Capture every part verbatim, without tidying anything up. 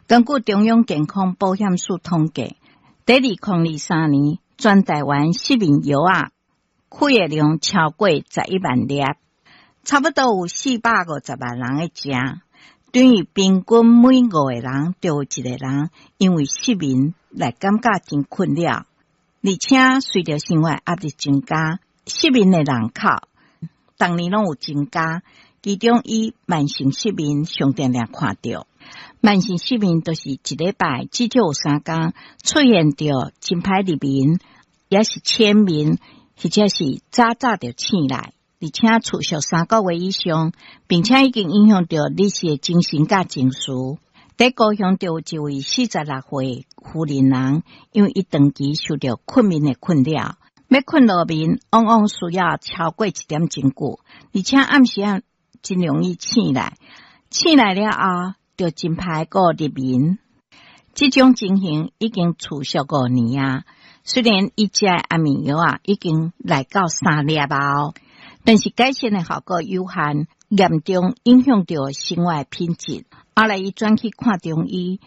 根據中央健康保險署統計，佇二零二三年，全台灣失眠藥仔開的量超過十一萬粒，差不多有四百五十萬人咧食，等於平均每五個人就有一個人因為失眠來感覺真困擾。而且隨著生活壓力增加，失眠的人口逐年攏有增加，其中以慢性失眠上定定看著。慢性失眠就是一禮拜至少有三工出現著真歹入眠，抑是淺眠，或者是早早就醒來，而且持續三個月以上，並且已經影響著日時的精神佮情緒。佇高雄就有一位四十六歲婦人，因為伊長期受著睏眠的困擾，欲睏落眠往往需要超過一點鐘久，而且暗時仔真容易醒來，醒來了後就真歹閣入眠。這種情形已經持續五年啊，雖然伊食的安眠藥啊已經來到三粒啊，但是改善的效果有限，嚴重影響著生活品質。後來伊轉去看中醫，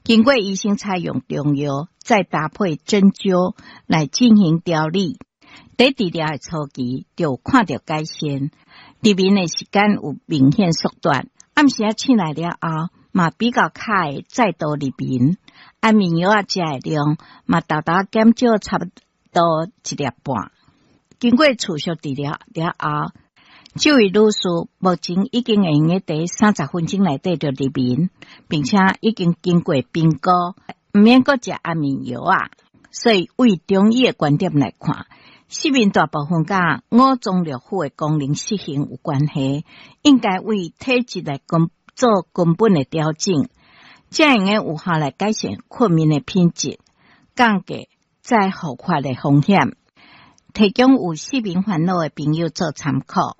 經過醫生採用中藥，再搭配針灸來進行調理。佇治療的初期就看著改善，入眠的時間有明顯縮短。暗時仔醒來了後，嘛比較較會再度入眠。安眠藥仔食的量嘛，大大減少差不多一粒半。經過持續治療了後，這位女士目前已經會用得佇三十分鐘內底就入眠，並且已經經過評估，毋免閣食安眠藥啊。所以，為中醫的觀點來看，失眠大部分佮五臟六腑的功能失衡有關係，應該為體質來根做根本的調整，才會用得有效來改善睏眠的品質，降低再復發的風險。提供有失眠煩惱的朋友做參考。